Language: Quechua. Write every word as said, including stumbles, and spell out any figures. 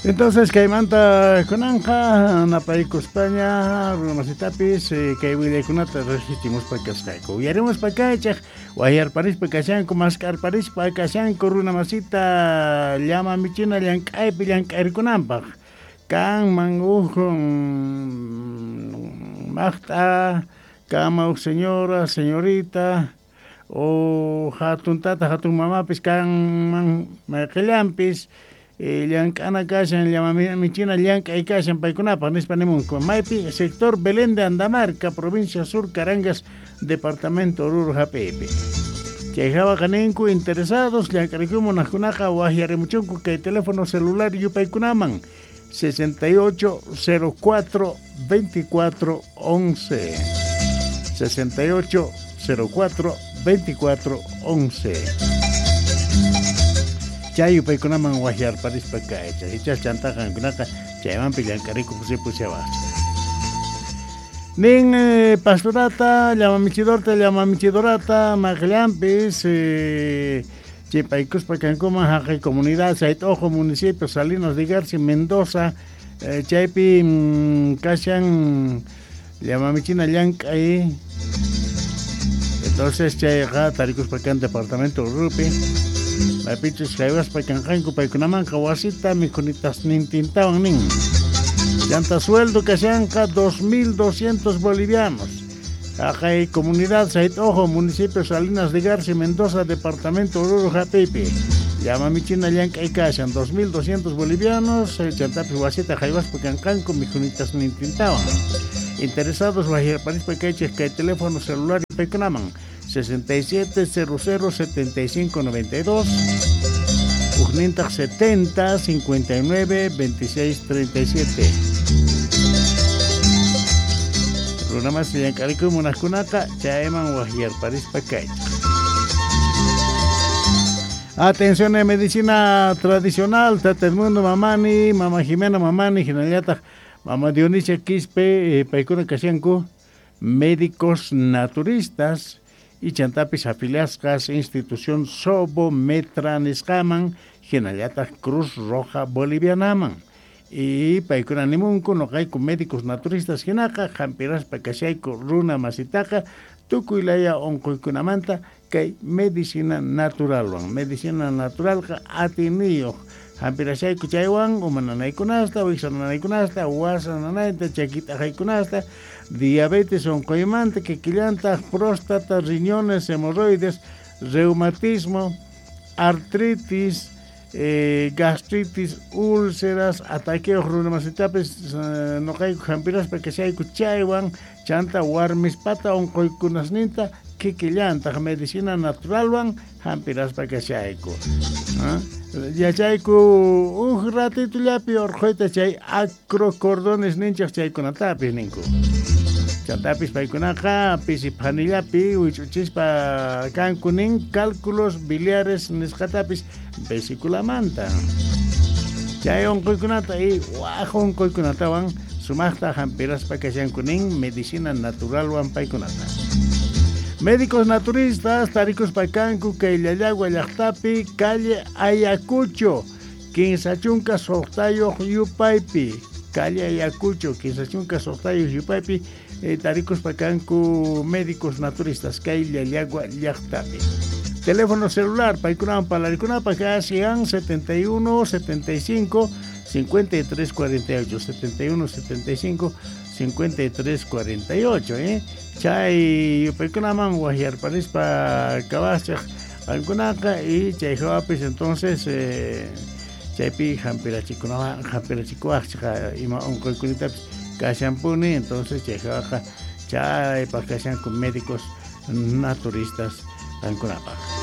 Entonces kaymanta kunanqa napaykuspaña runamasitapis kay willaykunata riqsichimuspa kasqayku. Uyarimuspa kaychaq wayarparispa kashanku mask'arparispa kashanku runamasita llama michina llank'aypi llank'arikunanpaq. Kanman huk maqt'a, kanman huk señora, señorita o hatun tata, hatun mamapis kanman mayqillanpis llank'ana kashan llama michina llank'ay kashan paykunapaq nispa nimunku. Maypi sector Belén de Andamarca, provincia Sur Carangas, departamento Oruro hap'iypi. Chay hawaqa ninku interesados llank'arikuy munaqkunaqa waqyarimuchunku kay teléfono celular yupaykunaman sesenta y ocho cero cuatro veinticuatro once sesenta y ocho cero cuatro veinticuatro once. Chay yupaykunaman waqyarparispa kaycha ichas chantaqa qankunaqa chaymanpi llank'arikuq ripushawaqchik. Nin eh, pastorata, llama michidorta, llama michidorata, maqllanpis eh, chipaykuspa kankuman haqay comunidad Sayt'ojo, municipio Salinas de Garci, Mendoza, eh, chaypi mm, kashan llama michina llank'ay. Entonces chayqa tarikuspa kan departamento Urupi. Maypichus haywaspa kanqanku paykunamanqa wasita mikhunitasnintintawan nin. Llanta sueldo kashanqa dos mil doscientos bolivianos. Haqay comunidad Sayt'ojo, municipio Salinas de Garci, Mendoza, departamento Oruro hap'iypi. Llama michina llank'ay kashan dos mil doscientos bolivianos, chantapis wasita haywaspa kanqanku mikhunitasnintintawan. Interesados waqyarparispa kaychik kay teléfono celular paykunaman sesenta y siete cero cero setenta y cinco noventa y dos, ujnintaq setenta cincuenta y nueve veintiséis treinta y siete. Runamas llank'arikuy munaqkunaqa chayman waqyarparispa kaychik. Atención en medicina tradicional, Tata Edmundo Mamani, Mama Jimena Mamani, hinallataq Mama Dionisia Quispe, eh, paykuna kashanku médicos naturistas y chantapis afiliasqas institución Sobo Metra nisqaman, hinallataq Cruz Roja Bolivianaman. Y paykuna nimunku noqayku médicos naturistas hinaqa hampiraspa kashayku runa masitaqa tukuy laya unquykunamanta kay medicina naturalwan. Medicina naturalqa atiniyuq hampirashayku chaywan uma nanaykunasta, wiksa nanaykunasta, wasa nanayta, chakit'aqaykunasta, diabetes unquymanta, kikillantaq próstata, riñones, hemorroides, reumatismo, artritis, eh, gastritis, úlceras, ataqueos runamasitapis eh, noqayku hampiraspa kashayku chaywan, chanta warmispata unquykunasninta kikillantaq medicina naturalwan hampiraspa kashayku. ¿Ah? Yachayku uj ratitullapi urquyta chay acrocordones ninchaq chaykunatapis ninku. Chantapis paykunaqa pisi phanillapi wich'uchispa kanku nin cálculos biliares nisqatapis vesiculamanta. Chay unquykunata y waj unquykunatawan sumaqta hampiraspa kashanku nin medicina naturalwan paykunata. Médicos naturistas tarikuspa kanku kay Llallagua llaqtapi calle Ayacucho kinsa chunka suqtayuq yupaypi, calle Ayacucho kinsa chunka suqtayuq yupaypi eh, tarikuspa kanku médicos naturistas kay Llallagua llaqtapi. Teléfono celular paykunawan parlarikunapaq kasian setenta y uno setenta y cinco cincuenta y tres cuarenta y ocho, setenta y uno setenta y cinco cincuenta y tres cuarenta y ocho, eh. Chay yupaykunaman waqyarparispa kawachaq qankunaqa y chay hawapis entonces eh, chaypi hampirachikunawan hampirachikuwaqchik ima unquykunitapis kashanpuni, entonces chay hawaqa chaypaq kashanku médicos naturistas qankunapaq.